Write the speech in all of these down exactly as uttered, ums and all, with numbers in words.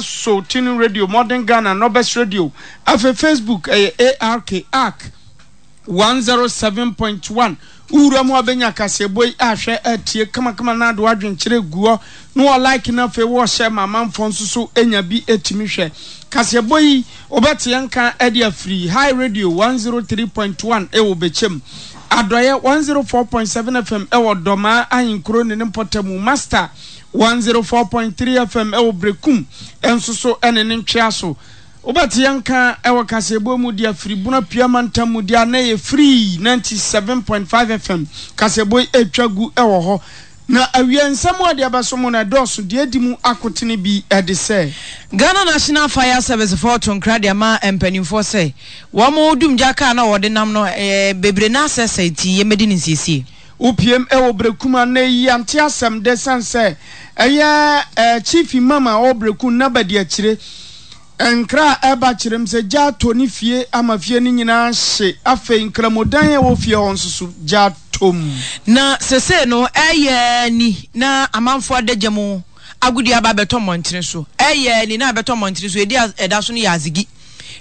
so TuneIn Radio, Modern Ghana, Nobes Radio. Afei Facebook ɛyɛ A R K A R K one zero seven point one. Wowura mu a, bɛnya kaseɛbɔ yi ahwɛ atie kamakama na ade wadwenkyerɛ guɔ na wɔ like, na afei wɔhyɛ ma amanfoɔ nso so anya bi ɛtumi hwɛ kaseɛbɔ yi. Wobɛte yɛn ka de afiri High Radio one zero three point one ɛwɔ Bɛkyɛm, Adɔeɛ one zero four point seven F M ɛwɔ Dɔmaa Ahenkuro ne ne mpɔtamu, Master one zero four point three F M ɛwɔ Brekum ɛnso so ɛne ne ntwea so. Wobɛte yɛn ka ɛwɔ kaseɛbɔ mu de afiri Buna Pia mantam mu deɛ na yɛ free ninety-seven point five F M. Kaseɛbɔ yi ɛtwa gu ɛwɔ hɔ na awia nsɛm a deɛ bɛso mu no ɛdɔɔso. Deɛ adi mu akotene bi ɛde sɛ Ghana National Fire Service foɔ to nkra de ama mpanimfoɔ sɛ wɔn dumgya kaa na wɔde nam no ɛɛ bebree na asɛsɛ nti yɛmɛdi ne nsiesie. Wopiem ɛwɔ Brekum a na yi ante asɛm de san sɛ ɛyɛ ɛɛ Chief Imam a ɔwɔ Brekum na bɛdi akyire nkra a ɛba kyerɛ m sɛ gya atɔ ne fie ama fie no nyinaa hye. Afei nkramodan a ɛwɔ fie hɔ nso so gya atɔ mu. Na sese no ɛyɛ ni na amanfoɔ adagya mu agudi aba abɛtɔ mmɔntene so. Ɛyɛ ni na abɛtɔ mmɔntene so edi ɛda so no yɛ azigi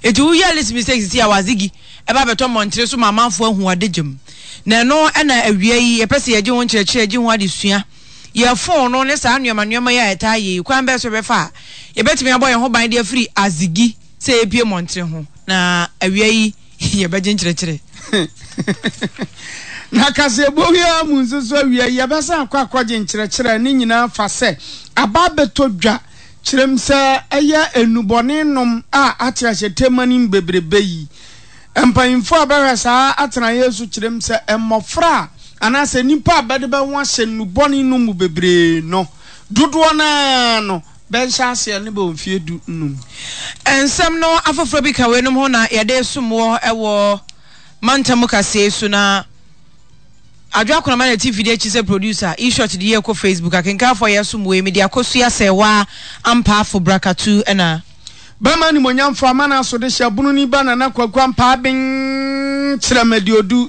eti woyɛ list mistake sisi a wazigi ɛba abɛtɔ mmɔntene so ma amanfoɔ ahu adagya mu. Na ɛno ɛna awia yi yɛpɛ sɛ yɛgye ho nkyerɛkyerɛ, gye ho adesua. Yɛ phone no ne saa nneɛma nneɛma yi a ɛtaa yɛ yi, kwan bɛɛ so bɛfa a yɛbɛtumi abɔ yɛn ho ban de afiri azigi sɛ yɛpie mmɔntene ho. Na awia yi yɛbɛgye nkyerɛkyerɛ. Na kaseɛbɔ yi ara mu nso so, awia yi yɛbɛsan akɔ akɔgye nkyerɛkyerɛ ne nyinaa fa sɛ aba abɛtɔ dwa kyerɛm sɛ ɛyɛ enubɔne nom a ate ahyɛ tema no bebrebe yi. Mpanyinfoɔ a bɛhwɛ saa atenaeɛ so kyerɛm sɛ mmɔfra a anaasɛ nipa a bɛde bɛho ahyɛ nnubɔne no mu bebree no, dodoɔ naa no bɛnhyɛ aseɛ ne bɛ mfie du num. Nsɛm no afoforɔ bi ka weinom ho na yɛde som wɔ ɛwɔ mantam kaseɛ so. Na Adwo Akonama na ti fidie akyi sɛ producer eShot de yɛ kɔ Facebook. Akenkanfoɔ yɛ som wei mede akɔsua sɛ waa ampaafo brakatu ɛna Bɛma nimonyamfo ama no aso de hyɛ bunu ni ba Nana Kwaku Ampaa Ben kyerɛ madiodu.